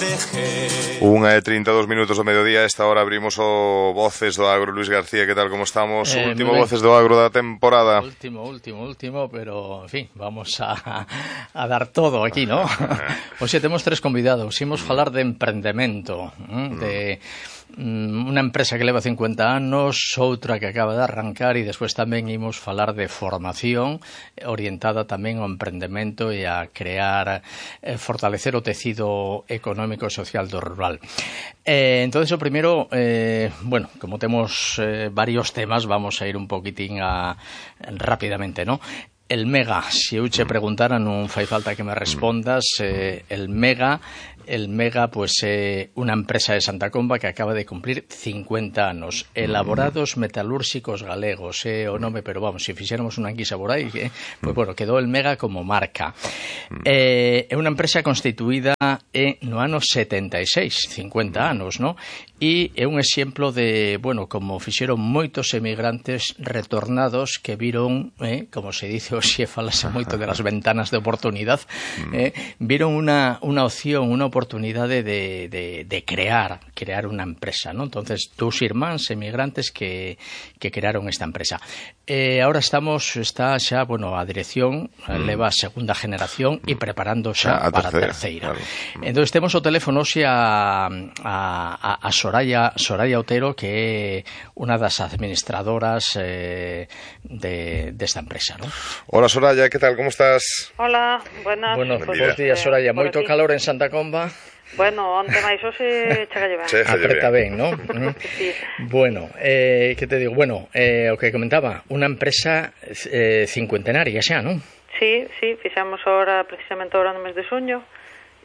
1:32 do mediodía. A esta hora abrimos o Voces do Agro. Luis García, que tal, como estamos? Último Voces do Agro da temporada. Último, pero, en fin, vamos a dar todo aquí, ¿no? Hoxe temos tres convidados. Imos falar de emprendemento, de unha empresa que leva 50 anos, outra que acaba de arrancar, e despois tamén imos falar de formación orientada tamén ao emprendemento e a crear, fortalecer o tecido económico e social do rural. Entonces, o primeiro, bueno, como temos varios temas, vamos a ir un poquitín rápidamente, ¿no? El Mega, se eu che preguntara, non fai falta que me respondas. El Mega, pues, é unha empresa de Santa Comba que acaba de cumplir 50 anos. Elaborados metalúrxicos galegos, o nome, pero vamos, se fixéramos unha enquisa por aí, pues, bueno, quedou el Mega como marca. É unha empresa constituída no ano 76, 50 anos, ¿no? E é un exemplo de, bueno, como fixeron moitos emigrantes retornados que viron, como se dice hoxe, falase moito de las ventanas de oportunidade, viron unha opción, unha oportunidade de crear unha empresa, ¿no? Entonces, dous irmáns emigrantes que crearon esta empresa. Ahora está xa, bueno, a dirección leva a segunda generación e preparando xa para a terceira. Claro. Entonces, temos o teléfono hoxe a Soraya Otero, que é unha das administradoras desta empresa, ¿no? Hola, Soraya, ¿qué tal? ¿Cómo estás? Hola, buenas. Buenos días, Soraya. Moito calor en Santa Comba? Bueno, onte máis hoxe chega ben. Apreta ben, ¿no? Sí. Bueno, que te digo? Bueno, o que comentaba, unha empresa cincuentenaria xa, ¿non? Sí, fixemos precisamente ahora no mes de xuño,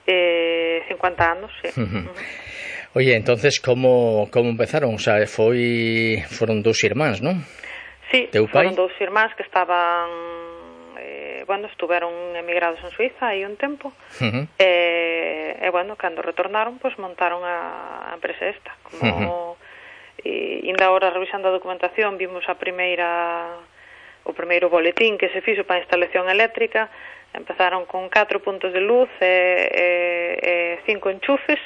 50 anos, sí. Oye, entonces, ¿cómo empezaron? O sea, foron dous irmáns, ¿non? Sí, foron dous irmáns que estaban, estuveron emigrados en Suiza aí un tempo, e, bueno, cando retornaron, pues montaron a empresa esta. Como, ainda ahora, revisando a documentación, vimos o primeiro boletín que se fixo para a instalación eléctrica. Empezaron con 4 puntos de luz e 5 enchufes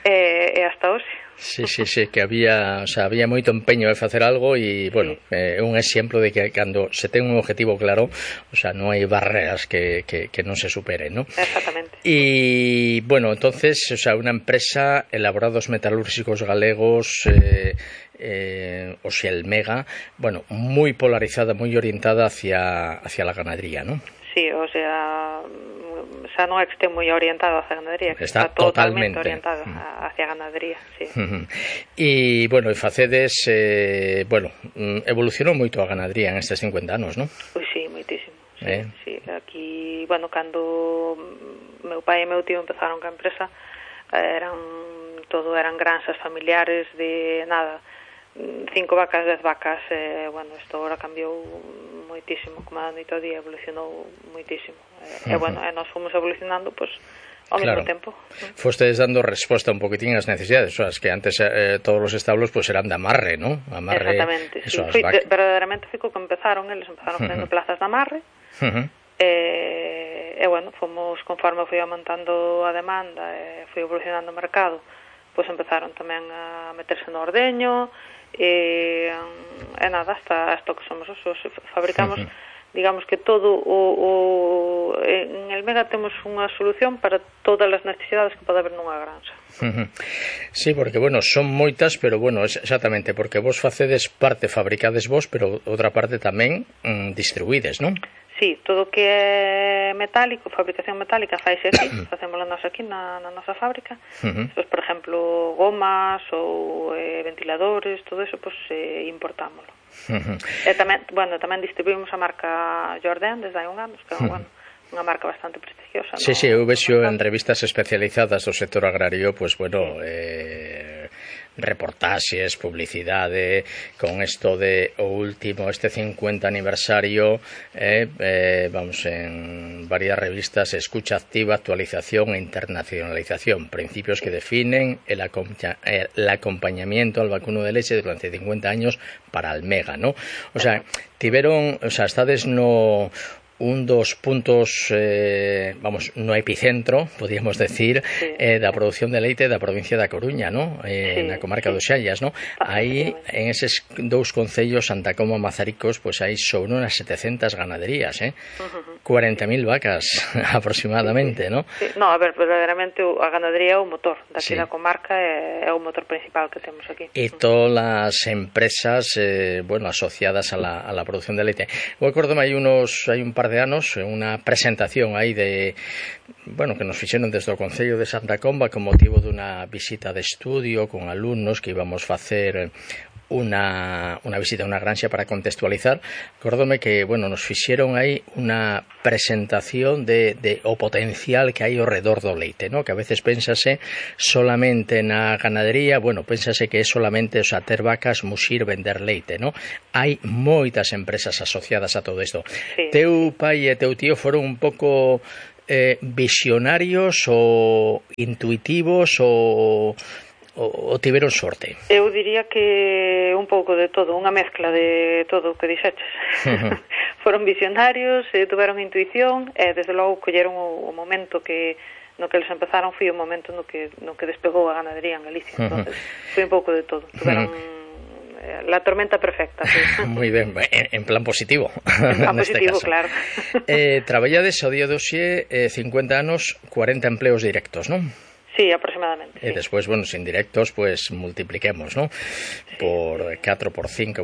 e hasta hoxe. Sí, que había moito empeño de facer algo e, bueno, é un exemplo de que cando se ten un objetivo claro, o sea, non hai barreras que non se superen, ¿no? Exactamente. E, bueno, entonces, o sea, unha empresa, elaborados metalúrxicos galegos, o sea, el Mega, bueno, moi polarizada, moi orientada hacia la ganadería, ¿no? Sí, o sea, xa non é que este moi orientado hacia a ganadería, que está totalmente orientado hacia a ganadería, sí. E, bueno, facedes, evolucionou moito a ganadería en estes 50 anos, non? Pois sí, moitísimo. Sí. Aquí, bueno, cando meu pai e meu tío empezaron ca empresa, eran granxas familiares de nada, 5 vacas, 10 vacas, bueno, isto agora cambiou moitísimo, como a noite ao día evolucionou moitísimo, e bueno, nós fomos evolucionando, pois, ao mesmo tempo. Fostedes dando resposta un poquitín ás necesidades, o sea, que antes todos os establos pues eran de amarre, ¿no? Amarre. Exactamente, sí, verdadeiramente foi co que eles empezaron facendo plazas de amarre, e bueno, fomos, conforme foi aumentando a demanda e foi evolucionando o mercado, pois empezaron tamén a meterse no ordeño, e nada, hasta o que somos os fabricamos, digamos que todo en el Mega temos unha solución para todas as necesidades que pode haber nunha granxa. Sí, porque, bueno, son moitas, pero, bueno, exactamente, porque vos facedes parte, fabricades vos, pero outra parte tamén distribuídes, non? Sí, todo que é metálico, fabricación metálica, faise aquí, facémoslo nós aquí na nosa fábrica. Pues, por exemplo, gomas ou ventiladores, todo eso, pues importámoslo. E tamén distribuímos a marca Jordan desde hai un ano, que é unha marca bastante prestigiosa. Sí, eu vexo en revistas especializadas do sector agrario, pues, bueno, reportaxes, publicidade, con isto de o último, este 50 aniversario, vamos, en varias revistas, escucha activa, actualización e internacionalización, principios que definen el acompañamiento al vacuno de leche durante 50 años para el Mega, ¿no? O sea, estades un dos puntos, vamos, no epicentro, podríamos decir, da produción de leite da provincia da Coruña, ¿no? Na comarca dos Xallas, ¿no? Aí, en eses dous concellos, Santa Comba e Mazaricos, pues aí son unas 700 ganaderías, 40.000 vacas aproximadamente, ¿no? Sí. No, a ver, verdadeiramente a ganadería é o motor daqui da comarca, é o motor principal que temos aquí. E todas as empresas, bueno, asociadas a la producción de leite. Eu acordome hai un par de anos unha presentación aí de, bueno, que nos fixeron desde o Concello de Santa Comba con motivo dunha visita de estudio con alumnos que íbamos facer unha visita a unha granxa para contextualizar. Acordome que, bueno, nos fixeron aí unha presentación de o potencial que hai ao redor do leite, ¿no? Que a veces pénsase solamente na ganadería, bueno, pénsase que é solamente, o sea, ter vacas, muxir, vender leite, ¿no? Hai moitas empresas asociadas a todo isto. Sí. Teu pai e teu tío foron un pouco visionarios ou intuitivos ou tiveron sorte? Eu diría que un pouco de todo, unha mezcla de todo o que dixeches. Foron visionarios, tuveron intuición e desde logo colleron o momento que no que eles empezaron foi o momento no que despegou a ganadería en Galicia. Entonces, foi un pouco de todo. Tuveron la tormenta perfecta. Sí. Moi ben, en plan positivo. En plan positivo, caso. Claro. Traballades ao día de hoxe 50 anos, 40 empleos directos, non? Sí, aproximadamente. E despois, bueno, os indirectos, pues multipliquemos, ¿no? Por 4, por 5.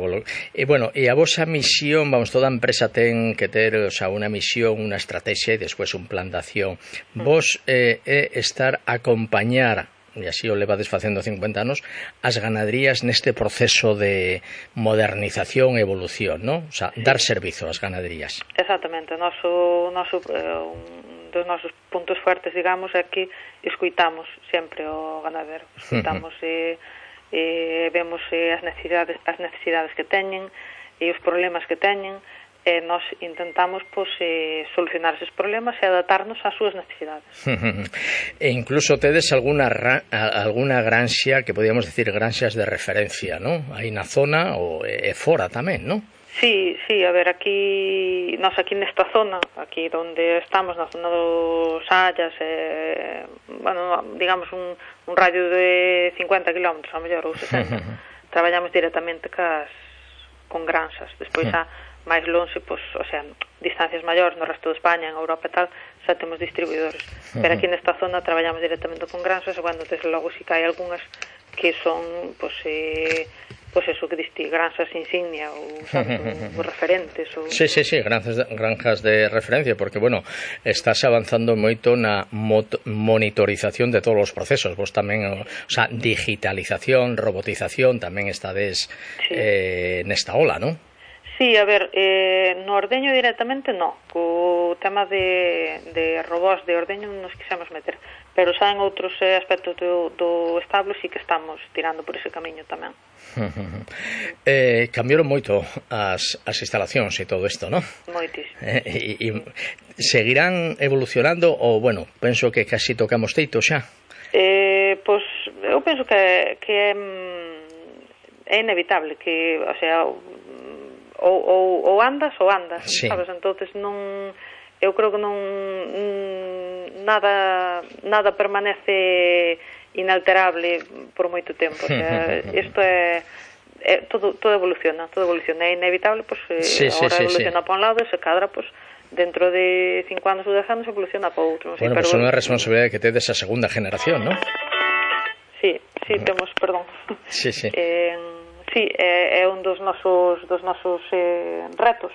E, bueno, e a vosa misión, vamos, toda empresa ten que ter, o sea, unha misión, unha estrategia e despois un plan de acción. Vos estar a acompañar, e así o levades facendo 50 anos, as ganaderías neste proceso de modernización e evolución, ¿no? O sea, dar servizo ás ganaderías. Exactamente. Dos nosos puntos fuertes, digamos, é que escuitamos sempre o ganadero, escuitamos e vemos as necesidades que teñen e os problemas que teñen e nós intentamos solucionar eses problemas e adaptarnos ás súas necesidades. E incluso tedes alguna granxa que podíamos decir granxas de referencia, ¿no? Aí na zona e fora tamén, ¿no? Sí, a ver, aquí nesta zona, aquí onde estamos, na zona dos Xallas, bueno, digamos un radio de 50 kilómetros, a mellor, ou 60, traballamos directamente con granxas. Despois, máis lonxe, pois, o sea, distancias maiores no resto de España, en Europa e tal, xa temos distribuidores. Pero aquí nesta zona traballamos directamente con granxas, e, bueno, desde logo si que hai algunhas que son, pois eso que diste, granxas insignia ou, sabes, ou referentes ou... Sí, granjas de referencia, porque, bueno, estás avanzando moito na monitorización de todos os procesos. Vos tamén, o sea, digitalización, robotización, tamén estades nesta ola, non? Sí, a ver, no ordeño directamente no, co tema de robots de ordeño nos quixemos meter, pero xa en outros aspectos do establo sí que estamos tirando por ese camiño tamén. Cambiaron moito as instalacións e todo isto, non? Moitísimo. E seguirán evolucionando ou, bueno, penso que casi tocamos teito xa? Pois eu penso que é inevitable, que, o sea, ou andas, sí. Sabes? Entonces eu creo que nada permanece inalterable por moito tempo, o sea, isto é todo evoluciona, é inevitable, pues agora evoluciona para un lado e se cadra, pues dentro de 5 anos ou 10 anos evoluciona para outro. Bueno, pues unha responsabilidade que tedes a segunda generación, ¿no? Sí, temos, perdón. Sí. Sí, é un dos nosos retos,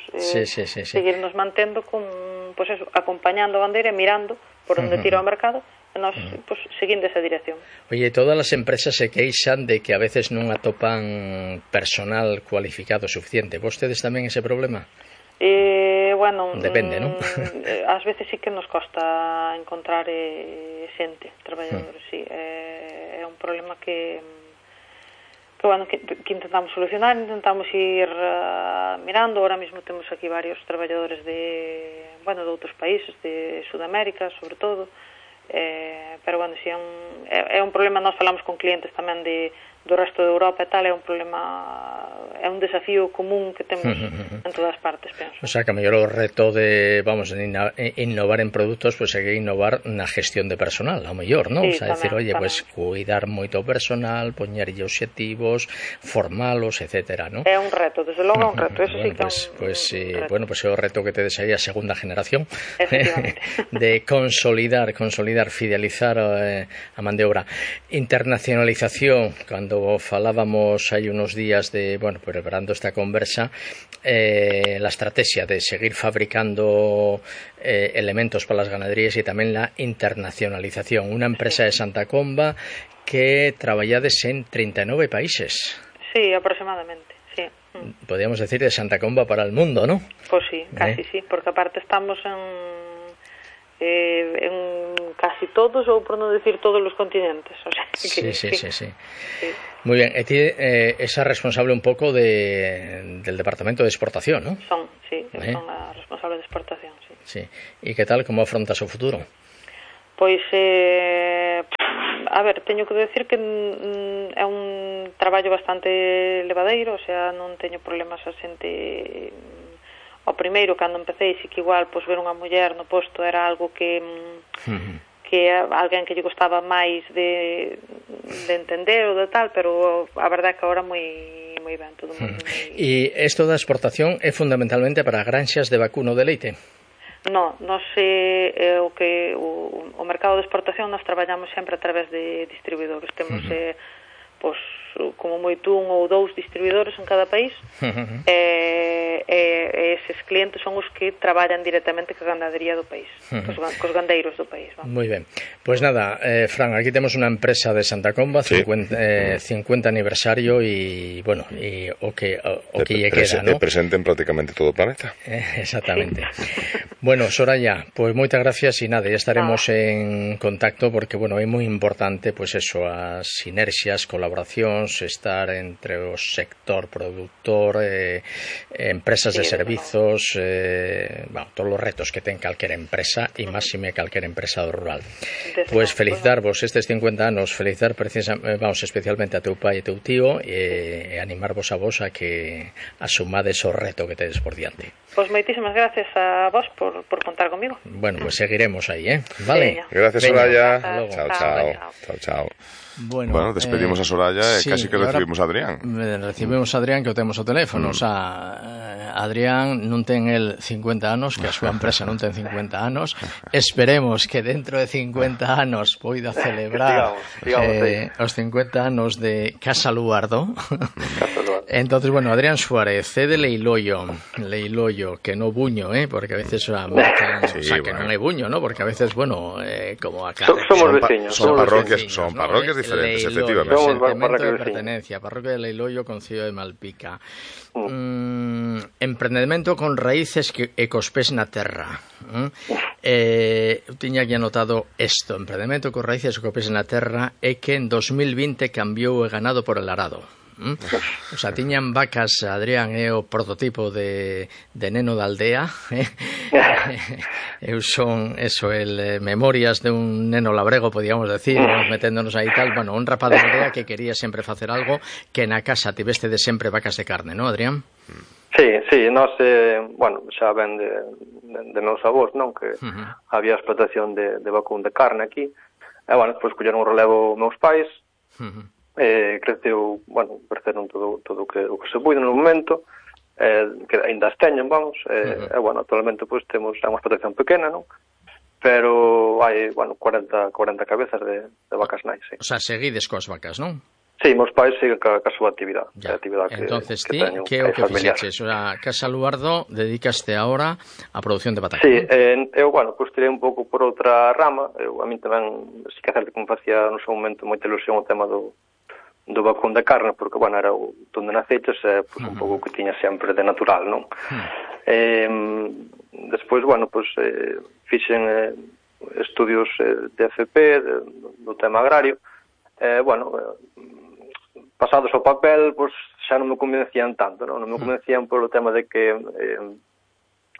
seguirnos mantendo con, pues eso, acompañando a bandeira, mirando por onde tira o mercado e nós, pues, seguindo esa dirección. Oye, todas as empresas se queixan de que a veces non atopan personal cualificado suficiente. Vos tedes tamén ese problema? Bueno, depende, non? Ás veces sí que nos costa encontrar xente, traballadores, sí. É un problema que intentamos solucionar, intentamos ir mirando. Ahora mismo temos aquí varios traballadores de outros países, de Sudamérica, sobre todo, pero, bueno, si é un problema. Nós falamos con clientes tamén de do resto de Europa e tal, é un problema, é un desafío común que temos en todas partes, penso. O sea, que a mellor o reto de, vamos, de innovar en produtos, pues hai que innovar na gestión de personal, ao mellor, non? Sí, O sea, decir, oye, tamén. pues cuidar moito o personal, poñerlle obxectivos, formalos, etcétera, non? É un reto, desde logo é un reto, eso bueno, sí que é un reto. Bueno, pues é o reto que tedes aí a segunda generación de consolidar, fidelizar a man de obra. Internacionalización, cando falábamos hai unos días de, bueno, preparando esta conversa, la estrategia de seguir fabricando elementos para las ganaderías y tamén la internacionalización. Una empresa de Santa Comba que traballades en 39 países. Sí, aproximadamente, sí. Podríamos decir de Santa Comba para el mundo, ¿no? Pues sí, casi sí, porque aparte estamos en casi todos, ou por non decir todos os continentes, o sea, que sí. Muy bien, ti esa responsable un pouco del departamento de exportación, ¿no? Son a responsable de exportación, sí. Sí. E que tal, como afrontas o futuro? Pois, a ver, teño que decir que é un traballo bastante levadeiro, o sea, non teño problemas a xente. Ao primeiro, cando empecé, sí que igual, pois, ver unha muller no posto era algo que alguén que lle gostaba máis de entender ou de tal, pero a verdade é que agora moi ben, todo moi... E isto da exportación é fundamentalmente para granxas de vacuno de leite? No, nós o mercado de exportación nós traballamos sempre a través de distribuidores. Temos pois, como moito un ou dous distribuidores en cada país, e eses clientes son os que traballan directamente coa ganadería do país, cos gandeiros do país. Vamos. Moi ben. Pois nada, Fran, aquí temos unha empresa de Santa Comba, 50 aniversario e, bueno, e o que lle queda, ¿no? Presente en prácticamente todo o planeta. Exactamente. Bueno, Soraya, pois moitas gracias e nada, ya estaremos en contacto porque, bueno, é moi importante, pois eso, as sinerxias, colaboracións, estar entre o sector productor, empresas de servizos, bueno, todos os retos que ten calquera empresa e máxime calquera empresa do rural. Pois felicitarvos estes 50 anos, felicitar vamos especialmente a teu pai e teu tío e animarvos a vos a que asumades o reto que tedes por diante. Pois moitísimas gracias a vos por contar comigo. Bueno, pues seguiremos aí, Vale. Gracias, Soraya. Chao. Bueno, despedimos a Soraya e casi que recibimos a Adrián. Recibimos a Adrián, que o temos o teléfono. O sea, Adrián non ten el 50 anos, que a súa empresa non ten 50 anos. Esperemos que dentro de 50 anos poida celebrar os 50 anos de Casa Luardo. Entonces, bueno, Adrián Suárez, de Leiloio, que no buño, porque a veces marcan, o sea, que non é buño, ¿no? Porque a veces, bueno, como acá... Somos veciños. Son parroquias diferentes, efectivamente. Sentimiento de pertenencia, parroquia de Leiloio, concello de Malpica. Emprendemento con raíces e cos pés na terra. Eu tiña aquí anotado isto, emprendemento con raíces e cos pés na terra, é que en 2020 cambiou o ganado por el arado. O sea, tiñan vacas, Adrián é o prototipo de neno da aldea. Eu son memorias de un neno labrego, podíamos decir, meténdonos aí tal, bueno, un rapaz de aldea que quería sempre facer algo que na casa tiveste de sempre vacas de carne, non, Adrián? Sí, nós, bueno, xa ven de meus avós, non, que había explotación de vacún de carne aquí, e, bueno, despois colleron o relevo meus pais, creceron todo o que se puido no momento, que ainda as teñen, vamos, e, bueno, actualmente pois temos unha explotación pequena, non? Pero hai, bueno, 40 cabezas de vacas nais, sí. O sea, seguides coas vacas, non? Sí, meus pais siguen ca súa actividade. Entonces, ti, que é o que fixeches? O sea, Casa Luardo dedicaste ahora a produción de batacón. Sí, eu, bueno, pues tirei un pouco por outra rama. A min tamén, si que hacer que me facía no seu momento moita ilusión o tema do vacún de carne, porque, bueno, era onde naceches, pues, un pouco que tiña sempre de natural, non? Despois, bueno, pues, fixen estudios de FP, do tema agrario, bueno, pasados ao papel, pues, xa non me convencían tanto, non me convencían polo tema de que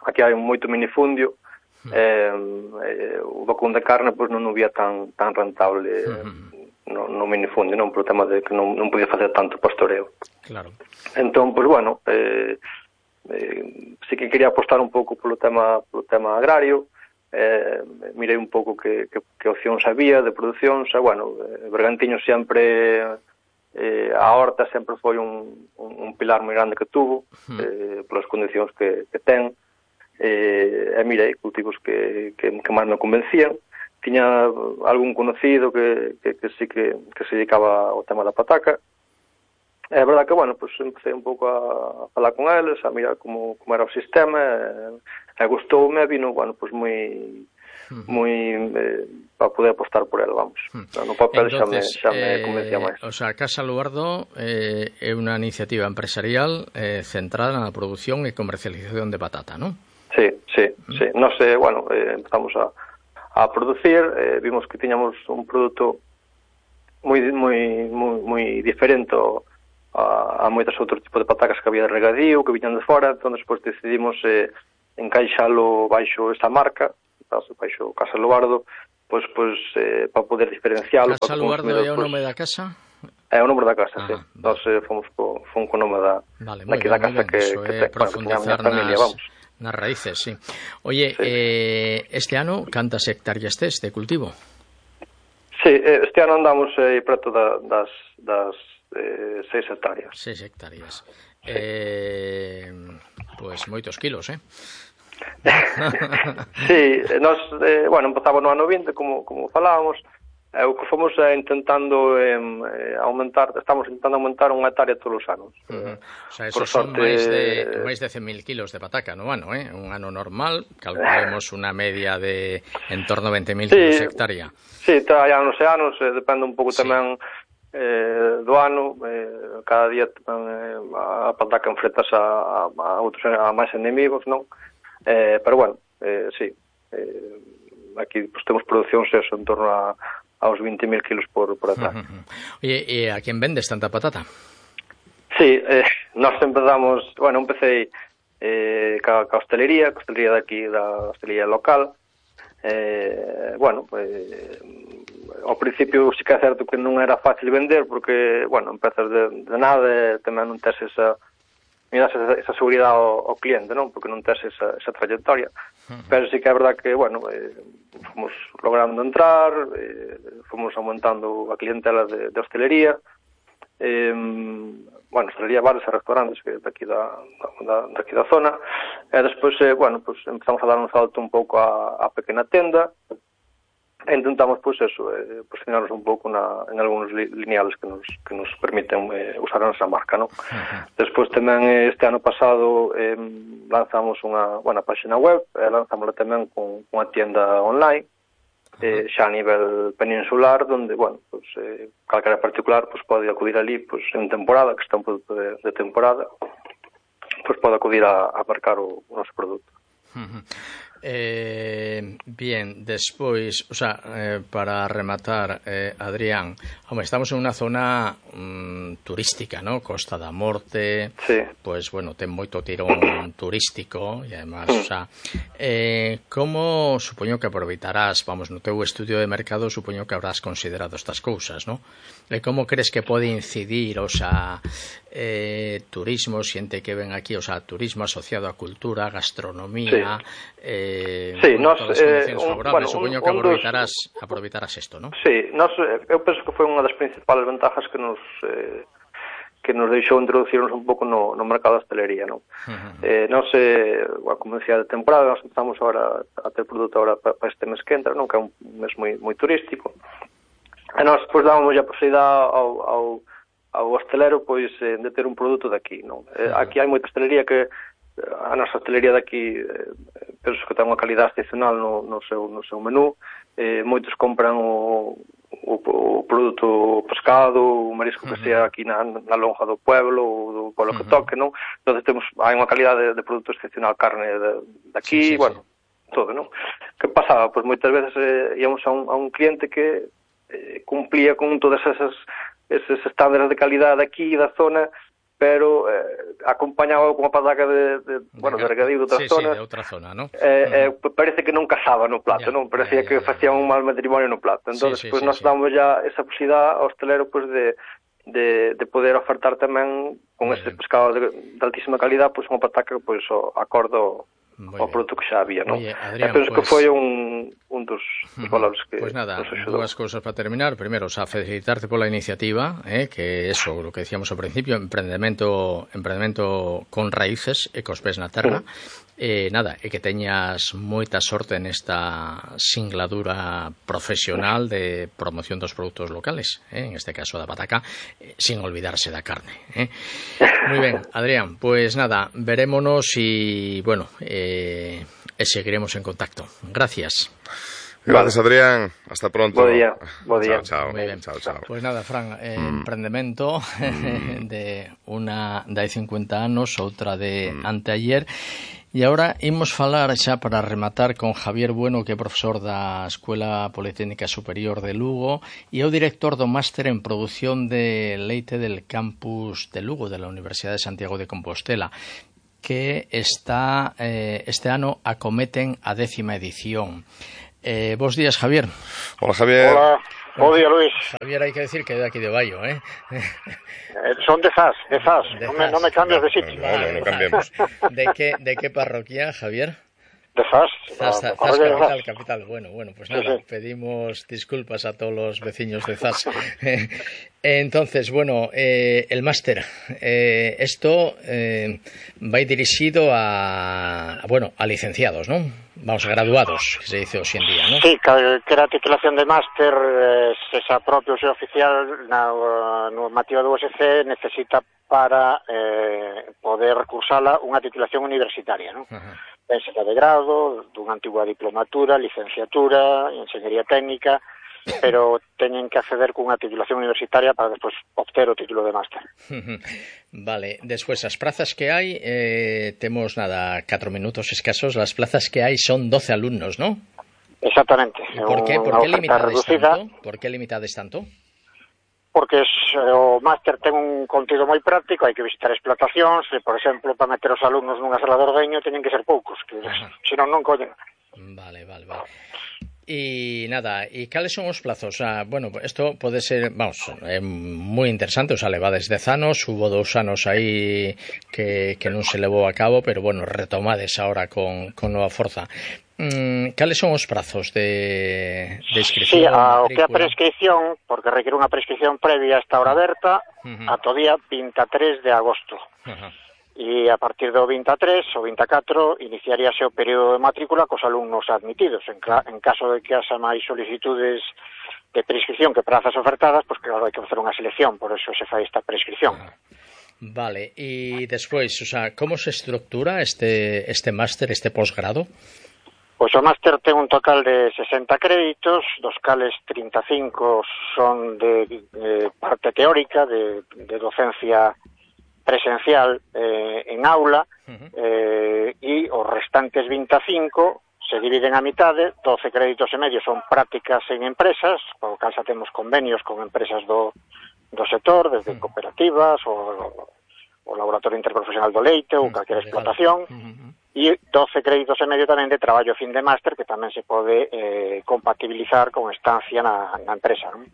aquí hai moito minifundio, o vacún de carne pues, non o vía tan rentable no minifundio, non? Por o tema de que non podía facer tanto pastoreo. Claro. Entón, pois, bueno, sí que quería apostar un pouco polo tema agrario, mirei un pouco que opcións había de producións, e, bueno, Bergantiños sempre, a horta sempre foi un pilar moi grande que tuvo, polas condicións que ten, e mirei cultivos que máis me convencían. Tiña algún conocido que sí que se dedicaba ao tema da pataca. É verdade que, bueno, pues empecé un pouco a falar con eles, a mirar como era o sistema, e gustoume, e vino, bueno, pues moi para poder apostar por ele, vamos. No papel entonces, xa me convencía máis. O sea, Casa Luardo é unha iniciativa empresarial centrada na produción e comercialización de patata, non? Sí. Nos, bueno, empezamos a producir, vimos que tiñamos un produto moi diferente a moitos outros tipos de patacas que había de regadío, que viñan de fora, entón despois decidimos encaixalo baixo esta marca, baixo Casa Luardo, pois para poder diferencialo. Casa Luardo é o nome da casa? É o nome da casa, sí. Nós fomos co nome da casa que ten a familia, vamos. Nas raíces, sí. Oye, este ano cantas hectáreas tes de cultivo? Sí, este ano andamos preto das 6 hectáreas. 6 hectáreas. Sí. Pois moitos kilos, Sí, nós, bueno, empezamos no ano 20, como falábamos, o que fomos intentando aumentar, estamos intentando aumentar unha hectárea todos os anos. O sea, esos son máis de 100.000 kilos de pataca no ano, un ano normal, calculemos unha media de en torno a 20.000 kilos hectárea. Sí, hai anos e anos, depende un pouco tamén do ano, cada día a pataca enfrentas a máis enemigos, non? Pero bueno, sí, aquí pues, temos produccións en torno aos 20.000 kilos por hectárea. Oye, e a quen vendes tanta patata? Sí, nós empezamos, bueno, empecé ca hostelería de aquí, da hostelería local. Bueno, ao principio sí que é certo que non era fácil vender, porque, bueno, empezas de nada, tamén non tes esa seguridade ao cliente, non? Porque non tes esa trayectoria. Pero sí que é verdad que, bueno, fomos logrando entrar, fomos aumentando a clientela de hostelería, bueno, hostelería, bares e restaurantes que daqui da zona, e despois, bueno, pues empezamos a dar un salto un pouco a pequena tenda, e intentamos, pois, eso, posicionarnos un pouco en algúns lineales que nos permiten usar a nosa marca, non? Despois tamén, este ano pasado, lanzamos unha página web, lanzámosla tamén con unha tienda online, xa a nivel peninsular, donde, bueno, pues, calquera particular pues, pode acudir ali pues, en temporada, que está un produto de temporada, pues pode acudir a marcar o noso produto. Bien, despois, o sea, para rematar, Adrián, estamos en unha zona turística, ¿no? Costa da Morte, sí. Pues bueno, ten moito tirón turístico e además, o sea, como supoño que aproveitarás, vamos, no teu estudio de mercado supoño que habrás considerado estas cousas, ¿no? Como crees que pode incidir, o sea, turismo, xente que ven aquí, o sea, turismo asociado a cultura, gastronomía, sí, nos bueno, supoño que aproveitarás isto, ¿no? Sí, eu penso que foi unha das principales ventajas que nos deixou introducirnos un pouco no mercado da hostelería, non? Nos, como decía, de temporada, nos empezamos agora a ter produto agora para este mes que entra, non? Que é un mes moi turístico. E nós, pois, dábamos a posibilidade ao hostelero, pois, de ter un produto daqui, non? Aquí hai moita hostelería que a nosa hostelería daqui penso que ten unha calidad excepcional no seu menú. Moitos compran o produto pescado, o marisco que sea aquí na lonja do pueblo ou do pueblo que toque, non? Entón hai unha calidade de produto excepcional, carne daqui, bueno, todo, non? Que pasaba? Pois moitas veces íamos a un cliente que cumplía con todas esos estándares de calidade aquí da zona, pero acompañaba con unha pataca de regadío de outra zona. Sí, de outra zona, ¿no? Parece que non casaba no plato, non? Parecía que facían un mal matrimonio no plato. Entón, pois nós damos ya esa posibilidad ao hostelero pois de poder ofertar tamén con ese pescado de altísima calidad, pois unha pataca pois acordo ao produto que xa había, non? Oye, Adrián, penso que foi un dos valores que pues nada, dúas cousas para terminar. Primero, felicitarte pola iniciativa, que eso, lo que decíamos ao principio, emprendemento con raíces e cos pés na terra. Nada, e que teñas moita sorte nesta singladura profesional de promoción dos produtos locales, en este caso da pataca, sin olvidarse da carne. Muy ben, Adrián, pues nada, verémonos y bueno, seguiremos en contacto. Gracias. Gracias, Adrián. Hasta pronto. Bo día. Chao. Muy bien. Chao. Pues nada, Fran, emprendemento de unha de hai 50 anos, outra de anteayer. E agora imos falar xa para rematar con Javier Bueno, que é profesor da Escuela Politécnica Superior de Lugo e é o director do máster en produción de leite del campus de Lugo, de la Universidade de Santiago de Compostela, que está este ano acometen a 10ª edición. Bos días, Javier. Hola, Javier. Hola. Bo día, Luis. Javier, hai que decir que é de aquí de Baio, Son de Zas. Non me cambias de sitio. No cambiemos. De que parroquia, Javier? De Zas. Zas capital. Bueno, pues nada, sí. Pedimos disculpas a todos los vecinos de Zas. Entonces, bueno, el máster. Esto va dirigido a licenciados, ¿no? Vamos, a graduados, que se dice hoxe en día, ¿no? Sí, que a titulación de máster se xa propio, se oficial na normativa do USC necesita para poder cursala unha titulación universitaria, ¿no? Pensa de grado, dunha antigua diplomatura, licenciatura, enxeñería técnica, pero teñen que acceder cunha titulación universitaria para despois obter o título de máster. Vale, despois as prazas que hai, temos 4 minutos escasos, as plazas que hai son 12 alumnos, ¿no? Exactamente. Por que limitades tanto? Porque o máster ten un contido moi práctico, hai que visitar explotacións, e, por exemplo, para meter os alumnos nunha sala de ordeño teñen que ser poucos, que senón non collen. Vale. Y nada, ¿y cales son os plazos? Bueno, isto pode ser, é moi interesante, levades 10 anos, hubo 2 anos aí que non se levou a cabo, pero bueno, retomades ahora con nova forza. Cales son os prazos de inscripción? Sí, o que a prescripción, porque requiere unha prescripción previa a esta hora aberta, ata o día 23 de agosto. E a partir do 23 ou 24 iniciaríase o período de matrícula cos alumnos admitidos. En caso de que haxa máis solicitudes de prescripción que prazas ofertadas, pois claro, hai que facer unha selección, por eso se fai esta prescripción. Vale, e despois, como se estructura este máster, este posgrado? Pois o máster ten un total de 60 créditos, dos cales 35 son de parte teórica, de docencia presencial en aula, e os restantes 25 se dividen a mitade, 12 créditos e medio son prácticas en empresas, por cal xa temos convenios con empresas do sector, desde cooperativas, o laboratorio interprofesional do leite, ou calquera explotación, e 12 créditos e medio tamén de traballo fin de máster, que tamén se pode compatibilizar con estancia na empresa, non?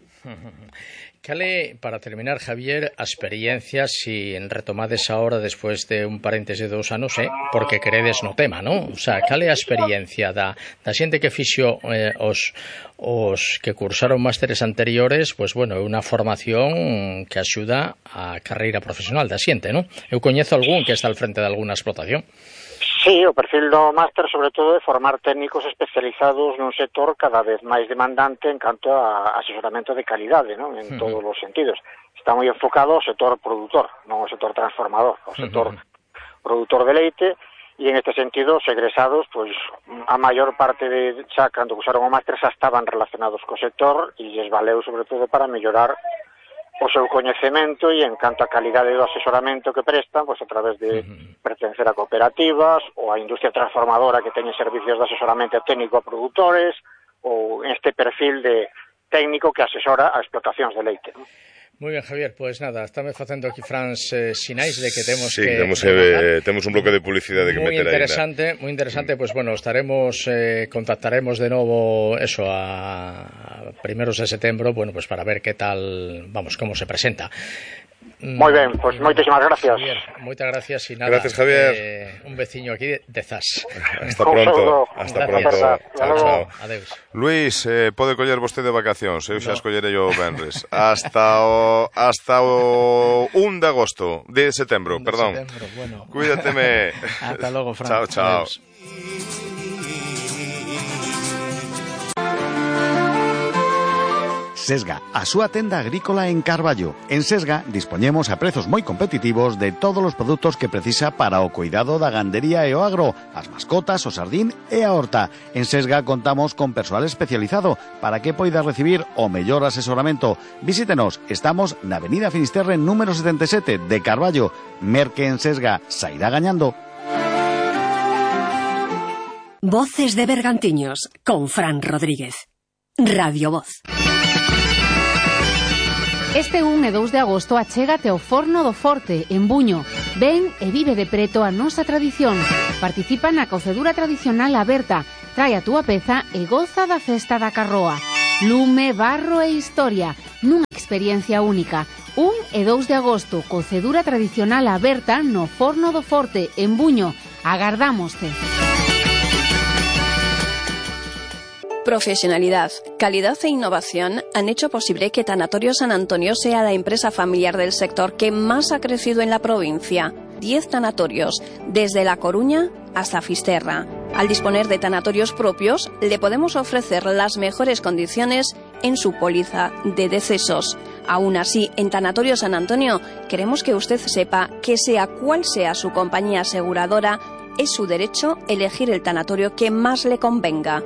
Cale, para terminar, Javier, a experiencia, si retomades ahora despois de un paréntese de 2 anos, porque credes no tema, non? Cale a experiencia da xente que fixo os que cursaron másteres anteriores, pois, bueno, é unha formación que axuda a carreira profesional da xente, non? Eu coñezo algún que está al frente de alguna explotación. Sí, o perfil do máster, sobre todo, é formar técnicos especializados nun sector cada vez máis demandante en canto a asesoramento de calidade, non? En todos os sentidos. Está moi enfocado ao sector produtor, non ao sector transformador, ao sector produtor de leite, e en este sentido, os egresados, pois, a maior parte de xa, cando usaron o máster, xa estaban relacionados co sector, e lles valeu, sobre todo, para mellorar o seu coñecemento e en canto a calidade do asesoramento que prestan, pois a través de pertencer a cooperativas ou a industria transformadora que teñen servicios de asesoramento técnico a produtores, ou este perfil de técnico que asesora a explotacións de leite, non? Moi ben, Javier, pois nada, estame facendo aquí Frans sinais de que temos sí, temos un bloque de publicidade que meter aí. Moi interesante, pois bueno, contactaremos de novo eso a primeros de setembro, bueno, pues para ver que tal, vamos, como se presenta. Moi ben, pois moitísimas gracias. Javier, moitas gracias e nada. Gracias, Javier. Un veciño aquí de Zas. Hasta pronto. Hasta pronto. Chao. Adeus. Luís, pode coller vostede vacacións, eu xa escollerei o venres. Hasta o 1 de agosto, de setembro, perdón. Bueno. Cuídateme. Hasta logo, Fran. Chao. Adeus. Sesga, a súa tenda agrícola en Carballo. En Sesga dispoñemos a prezos moi competitivos de todos os produtos que precisa para o cuidado da gandería e o agro, as mascotas, o sardín e a horta. En Sesga contamos con persoal especializado para que poida recibir o mellor asesoramento. Visítenos, estamos na Avenida Finisterre número 77 de Carballo. Merque en Sesga, sairá gañando. Voces de Bergantiños, con Fran Rodríguez. Radio Voz. Este 1 e 2 de agosto achégate ao Forno do Forte, en Buño. Ven e vive de preto a nosa tradición. Participa na cocedura tradicional aberta. Trae a túa peza e goza da festa da carroa. Lume, barro e historia, nunha experiencia única. 1 e 2 de agosto, cocedura tradicional aberta no Forno do Forte, en Buño. Agardámoste. Profesionalidad, calidad e innovación han hecho posible que Tanatorio San Antonio sea la empresa familiar del sector que más ha crecido en la provincia. 10 tanatorios, desde La Coruña hasta Fisterra. Al disponer de tanatorios propios, le podemos ofrecer las mejores condiciones en su póliza de decesos. Aún así, en Tanatorio San Antonio, queremos que usted sepa que sea cual sea su compañía aseguradora, es su derecho elegir el tanatorio que más le convenga.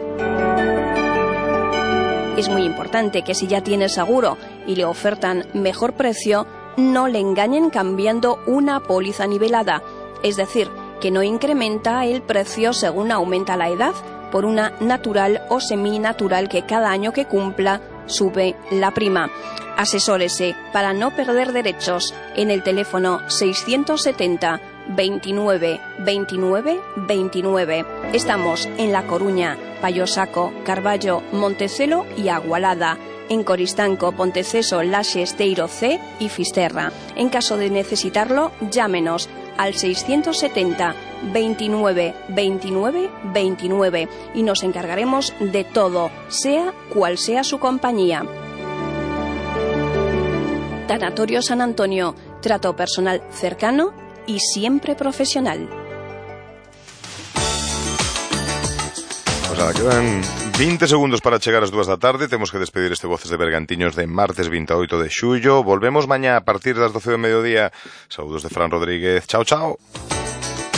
Es muy importante que si ya tiene seguro y le ofertan mejor precio, no le engañen cambiando una póliza nivelada. Es decir, que no incrementa el precio según aumenta la edad por una natural o seminatural que cada año que cumpla sube la prima. Asesórese para no perder derechos en el teléfono 670 29 29 29. Estamos en La Coruña, Payosaco, Carballo, Montecelo y Agualada. En Coristanco, Ponteceso, Laxe, Esteiro C y Fisterra. En caso de necesitarlo, llámenos al 670 29 29 29 y nos encargaremos de todo, sea cual sea su compañía. Tanatorio San Antonio, trato personal cercano y siempre profesional. Pues nada, quedan 20 segundos para chegar ás 2 da tarde. Temos que despedir este Voces de Bergantiños de martes 28 de xullo. Volvemos mañá a partir das 12 do mediodía. Saúdos de Fran Rodríguez. Chao, chao.